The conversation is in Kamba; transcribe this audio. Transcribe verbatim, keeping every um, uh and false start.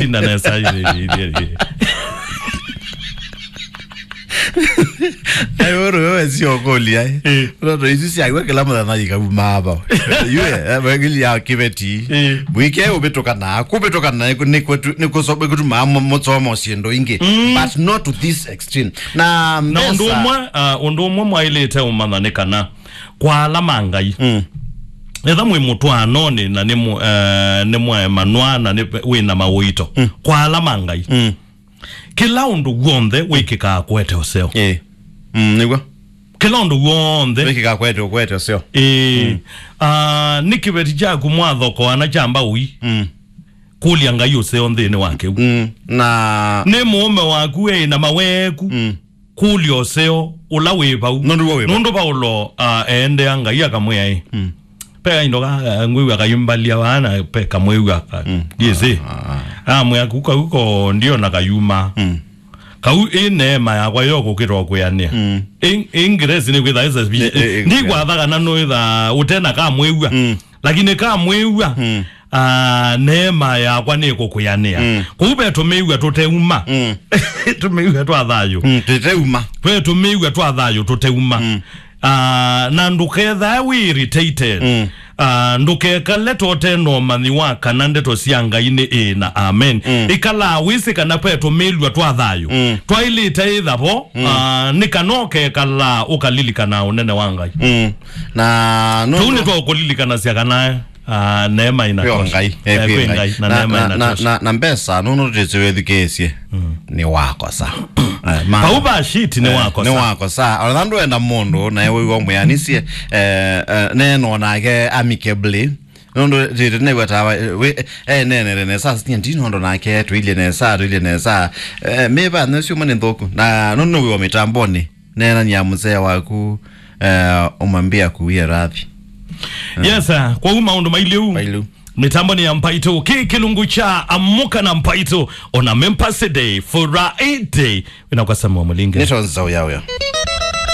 Tinda nesa. Ai, ũrũ wewe sio kũlia, eh. Eh. Ndoto isu syagwe kĩla mũthenya ikaumaa vau. Yue, eh, wegili ya kĩveti. Eh. Mũike ũvĩtũkana, kũvĩtũkana nĩ kũ-, nĩ kũtu-, nĩ kũso-, nĩ kũtuma mũ-, mũsomo syĩndũ ingĩ. Mm. But not to this extreme. Na na ũndũ mbesa ũmwe, ah, ũndũ ũmwe mwaĩlĩte ũmanya nĩ kana kwa ala ma Ngai. Mm. Etha mwĩ mũtwaanonĩ na nĩ mũ-, eh, nĩ mwaemanwa na nĩ wĩ na maũito. Mm. Kwa ala ma Ngai. Mm. Kĩla ũndũ w'onthe wĩkĩkaa kũete ũseo. Ĩĩ. Mm, nĩguo. Kĩla ũndũ w'onthe. Wĩkĩkaa kũete, kũete ũseo. Ĩĩ. Mm. Ah, nĩ kĩveti kyaku mwathokoana kya mbaũi. Mm. Kũlya Ngai ũseo nthĩnĩ wa kĩu. Mm. Na nĩ mũũme waku ĩ na maweeku. Mm. Kũlya ũseo ũla wĩ vau. Nũndũ w'o wĩ vau. Nũndũ Vaulo, ah, eendea Ngai akamwĩa ĩ. Mm. Pe kaindo ka, eh, ngwĩw'a kayumbalia vaa na pe kamwĩw'a ka, mm, yĩsĩ. Ah, ah. Amwĩa ku kau ko ndio na kayuma. Mm. Kau ĩ neema yakwa yo kũkĩtwa kwĩanĩa. Mm. Ĩ, ĩ ngiresi nĩ kwĩtha ĩsa. Ĩ, ĩ, ĩ, ndikwatha kana nũĩtha ũtena kamwĩw'a. Mm. Lakini kamwĩw'a, mm, ah, neema yakwa nĩ kũkwĩanĩa. Mm. Kũu ve tũmĩw'a tũteuma. Mm. Tũmĩw'a twa thayũ. Mm, tũteuma. Ve tũmĩw'a twa thayũ tũteuma. Mm. Ah, na ndũkethae wĩ irritated. Mm. Ah, ndũkekale tote na ũmanyi wa kana ndeto sya Ngai nĩ ĩĩ na amen. Mm. Ĩkalaa wĩsĩ kana ve tũmĩlw'a twa thayũ. Mm. Twaĩlĩte ĩtha vo, mm, ah, nĩ kana ũkekala ũkalilikana ũnene wa Ngai. Mm. Na tũu nĩ twa ũkũlilikanasya kana, ah, neema inatosha. Kwĩ Ngai, eh, eh, kwĩ Ngai. Ngai, na na, neema na, na, inatosha. Na, na mbesa, nũndũ tũtĩsĩ wĩthukĩĩsye. Mm. Nĩ wakosa. Eh, ma- Pauva shit nĩ, eh, wakosa. Nĩ wakosa. Ona ndwenda mũndũ, na ewe wĩwa mwĩanĩsye, eh, eh, neno nake amicably. Nũndũ tĩtĩ nĩw'a tawa, eh, we, eh, nenere nesa, sinya ndi nũndũ nake tũilye nesa, tũilye nesa. Eh, mĩva nĩsyo mwe nĩ nthũku. Na nũndũ nĩwĩwa mĩtambonĩ. Neenania mũsee waku, eh, ũmwambie akuwie radhi. Yes, sir. Kwa uma ũndũ mailiu. Mailiu. Mĩtambo nĩ ya Mpaito. Kĩ kĩlungu kya Amũka na Mpaito. Ona Members Day, Friday. Wĩna kwa Samuel Mũlinge. Nĩ Tonza ũya ũya.